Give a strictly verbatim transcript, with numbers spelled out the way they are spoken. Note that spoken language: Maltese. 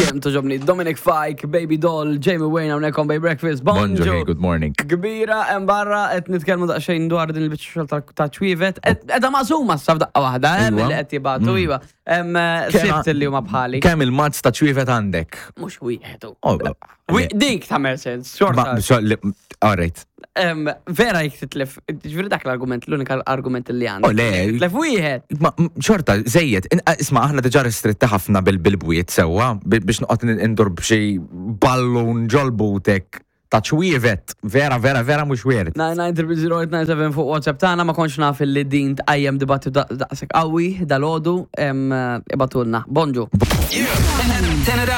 Dejjem togħġobni. Dominic Fike, Baby Doll, Jamie Wayne hawnhekk on Bay Breakfast. Bonġu, Bonġu. hey, good morning. Kbira hemm barra qed nitkellmu daqsxejn dwar din il-biċċa xogħol ta'- ta' ċwievet. Edha maqsuma sa f'daqqa waħda, hemm Iwa. li qed jibgħatu iva. Hemm eh, Kemm- sitt li huma bħali. Kemm il-mazz ta' ċwievet għandek? Mhux wieħed. Oh, Wi- Dik ta' sens, xorta. Ma, so, li- all right. Em, Vera jek titlef, ġifieri dak l-argument, l-unika argument li għandek. Oh, le. Titlef wieħed. Ma m- xorta, żejjed, in- isma' aħna diġà ristretti ħafna bil-bil-bwiet sewwa, bi- biex noqgħod indur b'xi ballun ġol-butek ta' ċwievet. Vera, vera, vera mhux weird. nine nine zero zero eight nine seven fuq WhatsApp tagħna. Ma kontx naf li din tqajjem dibattitu daqshekk qawwi dalgħodu, ibagħtulna. Bonġu. Turn it up.